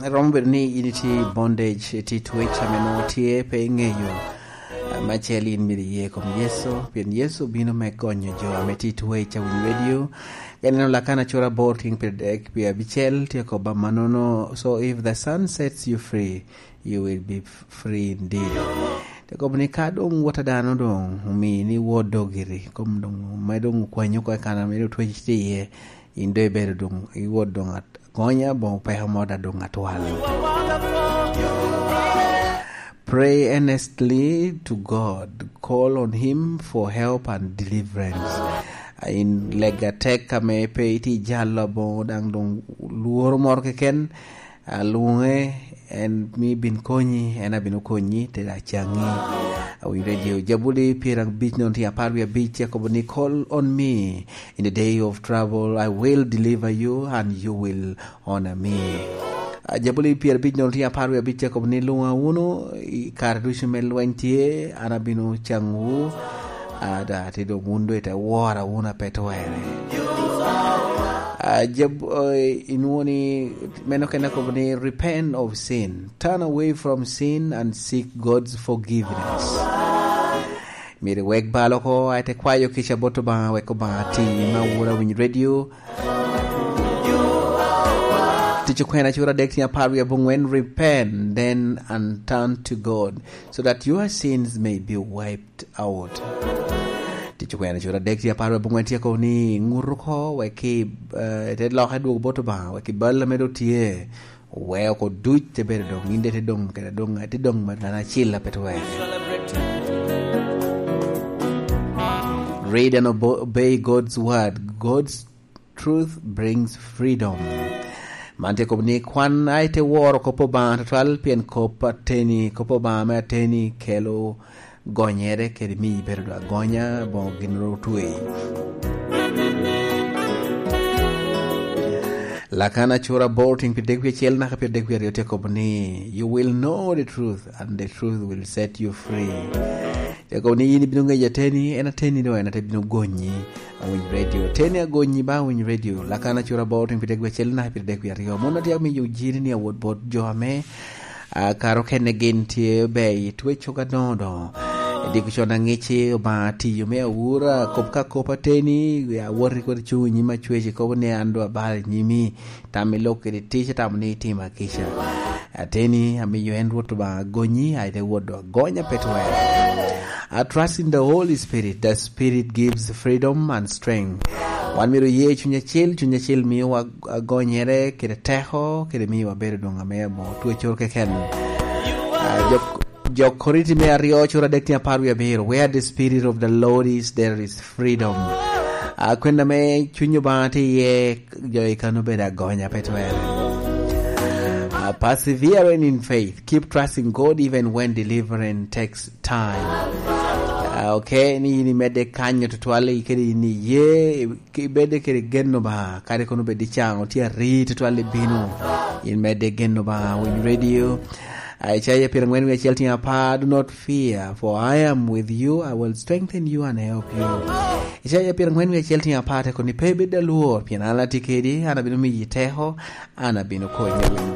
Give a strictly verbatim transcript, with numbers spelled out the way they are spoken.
Romo bedo ni in itye i bondage, itye i twec ame nwoŋo tye pe iŋeyo. Ah, me acel, in myero iye i kom Yecu, pien Yecu obino me gonyo jo ame tye i twec a winyo redio. Ka ineno Lakana cura aboro tyen pyeradek wie abicel tye kobo amannono, "So if the Son sets you free, you will be f-, free indeed." Te kobo ni, "Ka doŋ wot a dano doŋ omini wot dogiri, kom doŋ, me doŋ okwanyi oko i kan ame doŋ twec tye iye, in doŋ ibedo doŋ, iwot doŋ at-, agonya, boŋo peko mo daŋ doŋ atwal." Pray earnestly to God. Call on him for help and deliverance. In lega tek ame pe itye jalo aboŋo daŋ doŋ lworo moro keken, alwoŋe, en mi bin konyi, en abino konyi, te daŋ caŋi. Awinyo redio. Jabuli pyerabic nongo tye apar wie abic, akobo ni, "Call on me in the day of trouble, I will deliver you and you will honor me." Ah, Jabuli pyerabic nongo tye apar wie abic, akobo ni, "Luŋa wunu i kare ducu me lweny tye, an abino caŋwu." Ada, te doŋ wun doŋ ite wora wunu ape twerre. Ah, jab-, eh, inwoŋo ni, meno kene akobo ni, "Repent of sin. Turn away from sin and seek God's forgiveness." Myero iwek bal oko, a ite kwayo kica bot Obaŋa, wek Obaŋa ti, ma wura winy redio. Tic okwena cura dek tye apar wie abongwen, "Repent then and turn to God, so that your sins may be wiped out." Tic okwena cura dek tye apar wie abongwen tye akobo ni, "Ŋut oko, wek i, eh, te loke dwogo bot Obaŋa, wek i bal ame doŋ tye, we oko duc te bedo doŋ, in de te doŋ, kede doŋ, te doŋ ma ngan acil ape twerre." Read and obo-, obey God's word. God's truth brings freedom. Man tye kobo ni kwan a ite woro kop Obaŋa tutwal, pien kop ateni, kop Obaŋa me ateni kelo gonyere kede miyi bedo agonya, boŋo gin ru otwei. Lakana cura aboro tyen pyeradek wie acel naka pyeradek wie aryo tye kobo ni, "You will know the truth, and the truth will set you free." Tye kobo ni yin ibino ŋeyo ateni, en ateni doŋ en ate bino gonyi. Awiny redio. Teni agonyi ba awiny redio. Lakana cura aboro tyen pyeradek wie acel naka pyeradek wie aryo. Mon atye amiyo jiri ni awot bot jo ame, ah, karo kene gin tye ber i twec cogo adoŋo doŋo. Diko con aŋici, Obaŋa tiyo me awura, kop ka kop ateni, awoti kodi cuŋ i nyim acwec, ikobo ni an doŋ abalo i nyimi. Tam i lok kede tic, atamo ni itimo akica. Ateni, amiyo en Rwot Obaŋa agonyi, a ite wot doŋ agonya pe twerre. I trust in the Holy Spirit. The Spirit gives freedom and strength. Wan myero oye Cuny Acil, Cuny Acil miyowa agonyere kede teko, kede miyowa bedo doŋ ame amo twecoro keken. Ah, jo, jo Korinti me aryo, cura dek tyen apar wie abiro, "Where the Spirit of the Lord is, there is freedom." Ah, kwena me Cuny Obaŋa tye iye, jo i kano bedo agonya pe twerre. Ah, perseverance in faith. Keep trusting God even when deliverance takes time. Ah, okay, ni yin imedde kanyo tutwal i kede in iye, ki-, ibedde kede gen Obaŋa, kadi kono obed i caŋ, otye ari tutwal ibino, in medde gen Obaŋa, winy redio. Ah, Icaya pyeraŋwen wie acel tyen apar, "Do not fear, for I am with you, I will strengthen you and help you." Icaya pyeraŋwen wie acel tyen apar te kobo ni, "Pe ibed alwor, pien an atye kedi, an abino miyi teko, an abino konyi."